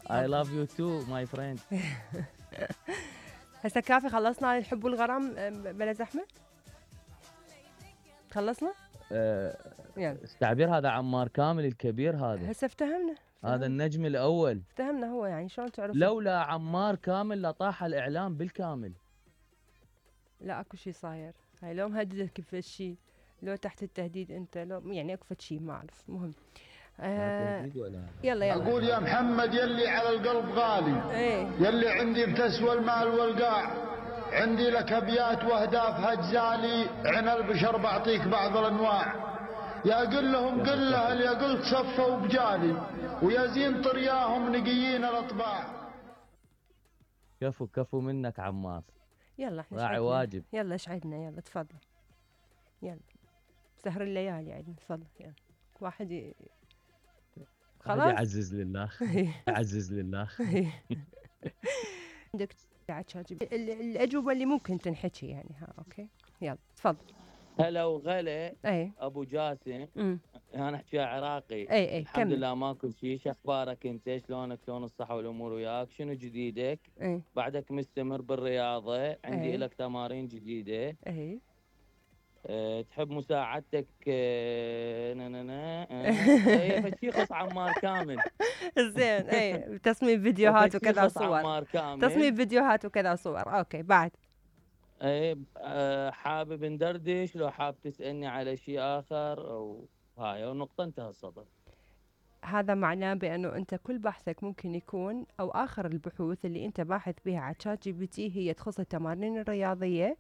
I love you too my friend. هسه كافي خلصنا الحب والغرام بلا زحمة. خلصنا؟ التعبير هذا عمار كامل الكبير هذا. هسه افتهمنا. هذا النجم الأول. افتهمنا هو يعني شلون تعرف؟ لولا عمار كامل لطاح الإعلام بالكامل. لا اكو شيء صاير. هاي لو مهددك بشيء، لو تحت التهديد انت، لو يعني اكو شيء ما اعرف. مهم. يلا اقول يا محمد يلي على القلب غالي، يلي عندي بتسوى المال والقاع، عندي لك ابيات واهداف هجالي، عن البشر بعطيك بعض الانواع. يا قل لهم قل له اللي قلت صفوا بجالي، ويا زين طرياهم نقيين الاطباع. كفو منك عمار. يلا احنا راعي واجب. يلا اشعدنا، يلا تفضل. يلا سهر الليالي عندنا، تفضل. يلا واحد خلاص يعزز لله. يعزز لله. عندك الأجوبة اللي ممكن تنحكي يعني. ها اوكي يلا تفضل. هلا وغلا. ابو جاسم. انا احكيها عراقي. الحمد لله ماكو شيء. شو اخبارك انت؟ شلونك؟ شلون الصحه والامور وياك؟ شنو جديدك؟ بعدك مستمر بالرياضه؟ عندي لك تمارين جديده. تحب مساعدتك؟ فشي خص عمار كامل. زين. تصميم فيديوهات وكذا صور. عمار كامل. تصميم فيديوهات وكذا صور. اوكي بعد. حابب ندردش؟ لو حاب تسألني على شيء آخر أو هاي ونقطة انتهى الصدر. هذا معناه بأنه أنت كل بحثك ممكن يكون، أو آخر البحوث اللي أنت باحث بها على ChatGPT هي تخص التمارين الرياضية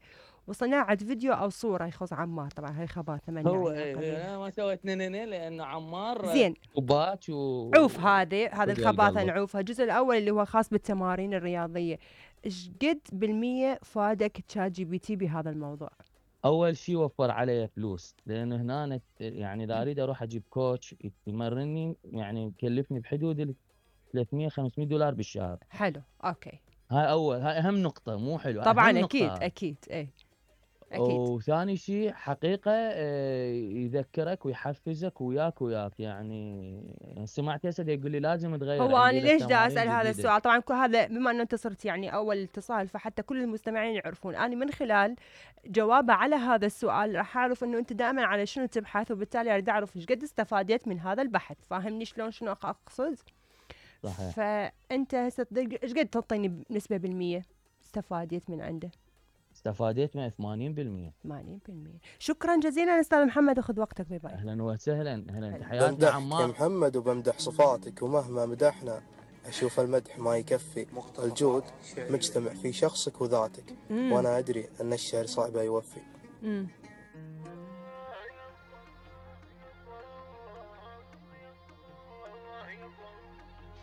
وصناعة فيديو أو صورة يخص عمار. طبعا هاي خباثة من هو أنا ما سويت لأنه عمار زين وباك عوف. هذه الخباثة نعوفها. الجزء الأول اللي هو خاص بالتمارين الرياضية، إيش قد بالمية فادك ChatGPT بهذا الموضوع؟ اول شيء وفر علي فلوس، لانه هنا يعني اذا اريد اروح اجيب كوتش يمرني يعني يكلفني بحدود ال $300-500 بالشهر. حلو اوكي. هاي اهم نقطه. مو حلو طبعا. أهم اكيد نقطة. اكيد اكيد. وثاني شيء حقيقه يذكرك ويحفزك وياك يعني سمعت هسه يقول لي لازم تغير. هو انا ليش دا اسال هذا السؤال؟ طبعا كل هذا بما انه انت صرت يعني اول اتصال، فحتى كل المستمعين يعرفون انا من خلال جوابه على هذا السؤال راح اعرف انه انت دائما على شنو تبحث، وبالتالي اريد اعرف ايش قد استفادت من هذا البحث. فاهمني شلون شنو اقصد؟ صحيح. فانت هسه ايش قد تعطيني نسبه بالمية استفادت من عنده؟ استفادت من 80%. 80%. شكرا جزيلا استاذ محمد، اخذ وقتك. باي باي. اهلا وسهلا. تحياتنا عمار. يا محمد وبمدح صفاتك، ومهما مدحنا اشوف المدح ما يكفي. الجود مجتمع في شخصك وذاتك، وانا ادري ان الشعر صعب يوفي.